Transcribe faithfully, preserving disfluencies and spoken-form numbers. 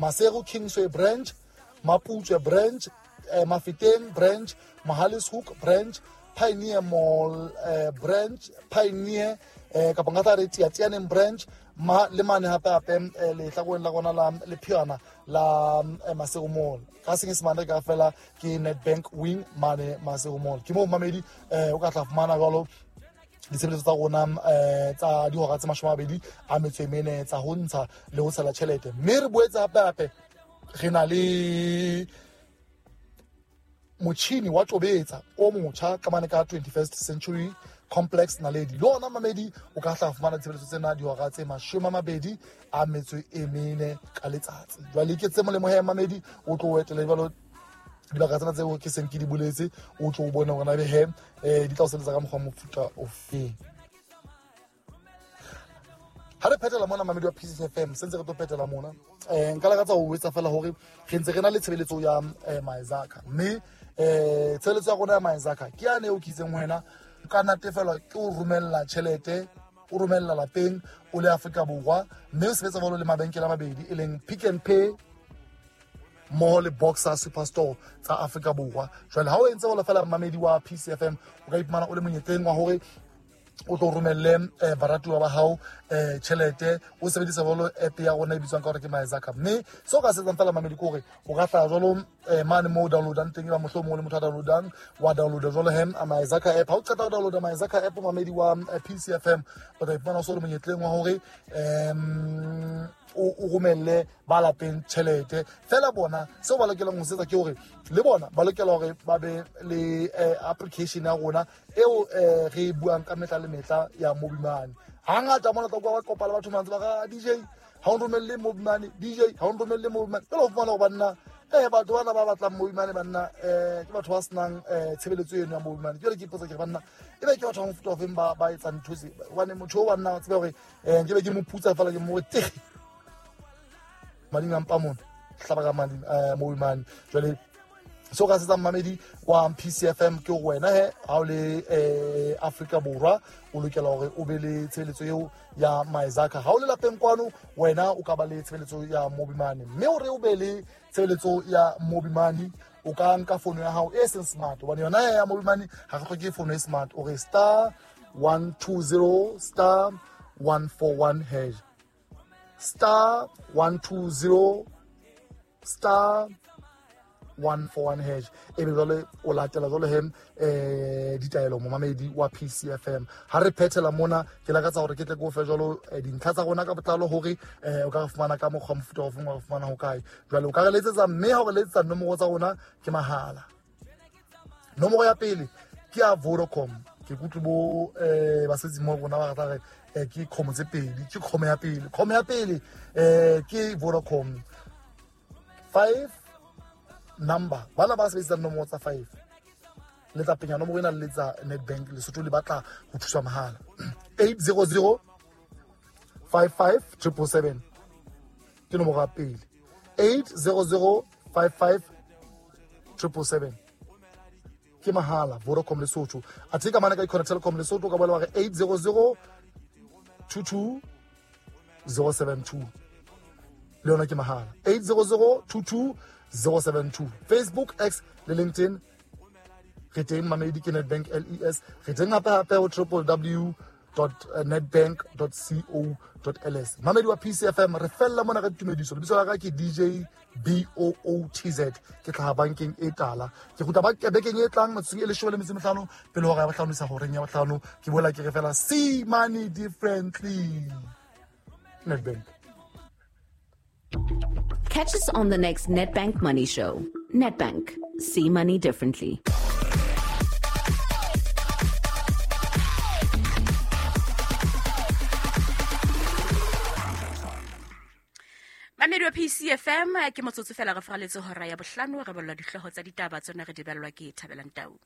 Maseru Kingsway branch, Mapuche branch, eh, Mafeteng branch, Mohale's Hoek branch, Pioneer Mall eh, branch, Pioneer eh, kapa nka tla re Tiatianeng branch, ma le mane hape hape eh, lehlakoreng la rona la Lepheana la eh, Maseru Mall. Ka senyesemane ka fela ke Nedbank Wing mane Maseru Mall. Ke moo mamedi eh, o ka tla fumana jwalo ditshebeletso tsa rona eh, tsa dihora tse mashome a mabedi a metso e mene tsa ho ntsha le ho tshela tjhelete. Mme re boetse hape hape re na le motjhini wa tobetsa o motjha ka mane ka twenty-first Century Complex Naledi. Le ona mamedi o ka hla fumana ditshebeletso tsena dihora tse mashome a mabedi a metso e mene ka letsatsi. Jwale ke tse molemo he mamedi, o tlo etele jwalo dibaka tsena tseo ke seng ke di boletse, o tlo o bone hore na ebe he eh, di tla o sebetsa ka mokgwa wa mofuta ofeng. Ha re phethela mona mamedi wa P C F M, sentse re tlo phethela mona. Eh, nka lakatsa ho etsa fela hore re ntse re na le tshebeletso ya eh, Maezaka. Mme eh, tshebeletso ya rona ya Maezaka ke yane eo ke itseng wena o ka natefelwa ke o romella tjhelete, o romella lapeng o le Afrika Borwa, mme o sebetsa jwalo le mabenkele a mabedi e leng Pick n Pay mmoho le Boxer Superstore tsa Afrika Borwa. Jwale ha o entse jwalo fela mamedi wa P C F M, o ka iphumana o le monyetleng wa hore o tlo romelle eh, baratuwa ba hao eh, tjhelete o sebedisa jwalo app ya rona e bitswang ka hore ke Maezaka. Mme seo o ka se etsang fela mamedi ke hore o ka hlaha jwalo eh, mane moo o downloadang teng, eba mohlomong o le motho a downloadang, wa downloada jwalo he Maezaka app. Ha o qeta ho downloada Maezaka app mamedi wa eh, P C F M, o tla iphumana o so le monyetleng wa hore em, o, o romelle ba lapeng tjhelete. Fela bona seo ba lokelang ho se etsa ke hore le bona ba lokela hore ba be le eh, application ya rona eo eh, re e buang ka mehla le mehla ya Mobimane. Hangata mona tla kwa ba kopa le batho mantse ba re, D J ha o nromelle Mobimane, D J ha o nromelle Mobimane. Jwale o fumana hore banna eh, batho bana ba batlang Mobimane banna eh, ke batho ba senang eh, tshebeletso eno ya Mobimane. Jwale ke ipotsa ke re banna ebe ke batho ba mofuta ofeng ba, ba etsang ntho tse? Hobane motho o banna o tsebe hore eh, nke be ke mo putsa fela ke mo tege mading a mpa mona, hlaba ka mading, eh, Mobimane. Jwale seo ka se etsang mamedi wa P C F M ke hore wena he ha o le eh, Afrika Borwa o lokela hore o be le tshebeletso eo ya Maezaka. Ha o le lapeng kwano wena o ka ba le tshebeletso ya Mobimane, mme hore o be le tshebeletso ya Mobimane o ka nka fono ya hao e seng smart, hobane yona ya Mobimane ha re hloke fono e smart. O re star one two zero star one four one hash, star one two zero star one four one hash. Ebe jwale o latela jwale he eh, ditaelo momamedi wa P C F M. Ha re phethela mona ke lakatsa hore ke tle ke o fe jwalo eh, dintlha tsa rona ka botlalo hore eh, o ka re fumana ka mokgwa mofuta ofeng, wa re fumana ho kae. Jwale o ka re letsetsa, mme ha o re letsetsa nomoro tsa rona ke mahala. Nomoro ya pele ke ya Vodacom. Ke kutlwe bo eh, basebetsi mo rona ba rata re eh, ke kgomo tse pedi, ke kgomo ya pele. Kgomo ya pele eh, ke Vodacom five number. Bana ba sebedisang nomoro tsa five le tla penya nomoro ena le letsa Nedbank Lesotho le batla ho thuswa mahala. eight zero zero five five triple seven ke nomoro ya pele. eight zero zero five five triple seven ke mahala Vodacom Lesotho. Athe ka mane ka Econet Telecom Lesotho ka bolela hore eight zero zero two two zero seven two le yona ke mahala. eight zero zero two two zero seven two. Facebook, X le LinkedIn re teng mamedi ke Nedbank L E S. Re teng hape hape ho triple w dot nedbank dot co dot L S. Mamedi wa P C F M re fella mona ka ditumediso. Lebitso la ka ke D J B O O T Z. Ke hlaha bankeng e tala. Ke kgutla ba bekeng e tlang metsotsong e leshome le metso e mehlano pele hora ya bohlano isa horeng ya bohlano. Ke boela ke re fela see money differently. Nedbank. Catch us on the next Nedbank Money Show. Nedbank. See money differently. Mamedi wa P C F M, ke motsotso fela re faraletse hora ya bohlano, re ballwa dihlooho tsa ditaba tsona re di ballwa ke Thabelang Tau.